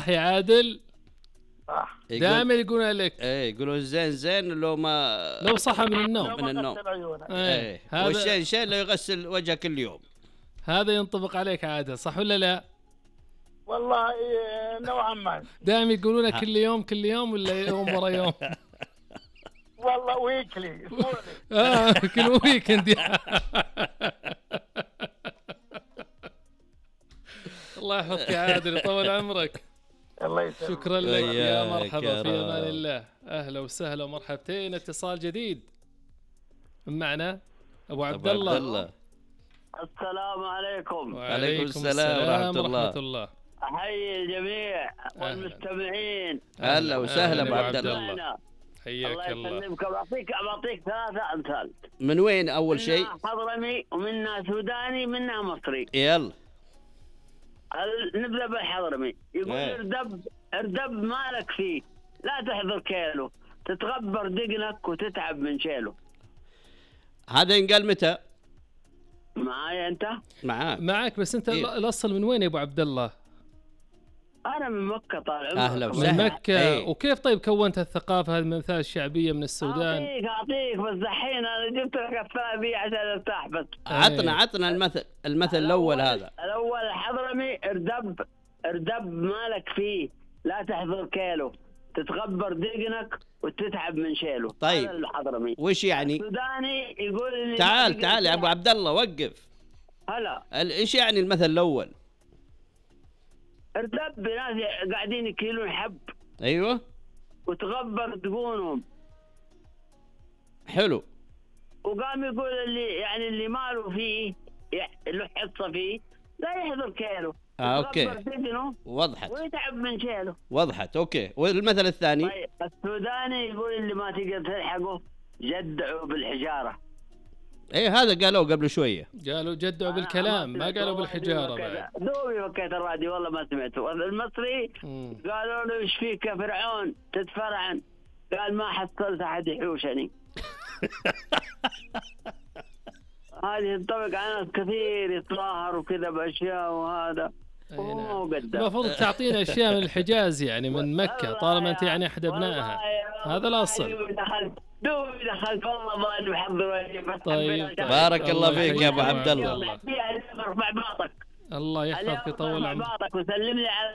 صح يا عادل؟ صح. دائما يقولون لك يقولون زين لو صحى من النوم والشين لو يغسل وجهه كل يوم. هذا ينطبق عليك عادل صح ولا لا؟ والله نوعا ما. دائما يقولون كل يوم ولا يوم ورا يوم؟ والله ويكلي كل ويكند. الله يحفظك يا عادل يطول عمرك. الله يسلمك. شكرا لك يا مرحبا في امان الله. اهلا وسهلا ومرحبتين. اتصال جديد معنا ابو عبد الله. السلام عليكم. وعليكم السلام ورحمة الله. احيي الجميع والمستمعين. اهلا وسهلا ابو عبد الله. حياك الله. الله يسلمك. بعطيك 3 امثال. من وين اول شيء؟ حضرمي ومنها سوداني منها مصري. يلا نبدأ بالحضرمي. يقول اردب مالك فيه لا تحضر كيلو تتغبر دقنك وتتعب من شيله. هذا ينقال متى؟ معايا انت؟ معاك بس انت الاصل من وين يا ابو عبد الله؟ انا من مكة طال عمرك. اهلا وسهلا. من مكة. وكيف طيب كونت الثقافة هذه الامثال الشعبية من السودان؟ اعطيك بس دحين انا جبت لك الثاني عشان ارتاح بس. عطنا المثل الاول. هذا الاول الحضرمي اردب مالك فيه لا تحضر كيلو تتغبر دقنك وتتعب من شيله. طيب الحضرمي وش يعني؟ السوداني يقول تعال يا ابو عبد الله وقف. هلا ايش يعني المثل الاول؟ اردب ناس قاعدين يكيلون حب. ايوه وتغبر دقونهم. حلو. وقام يقول اللي ماله فيه له حصه فيه لا يحضر كيلو. اوكي وضحت. ويتعب من شيله. وضحت. اوكي والمثل الثاني؟ طيب السوداني يقول اللي ما تقدر تلحقه جدعوا بالحجاره. ايه هذا قالوه قبل شويه. قالوا جدعوا بالكلام ما قالوا بالحجاره بعد. دوبي فكيت الراديو والله ما سمعته. المصري قالوا له ايش فيك يا فرعون تتفرعن قال ما حصلت احد يحوشني. هذه تنطبق على ناس كثير يتظاهر وكذا باشياء وهذا. المفروض تعطينا اشياء من الحجاز يعني من مكة طالما انت يعني احد ابنائها. هذا الاصل. دوبي دخلت والله ما محضر. طيب بارك الله فيك يا ابو عبد الله. الله يحفظك يطول عمرك وسلم لي على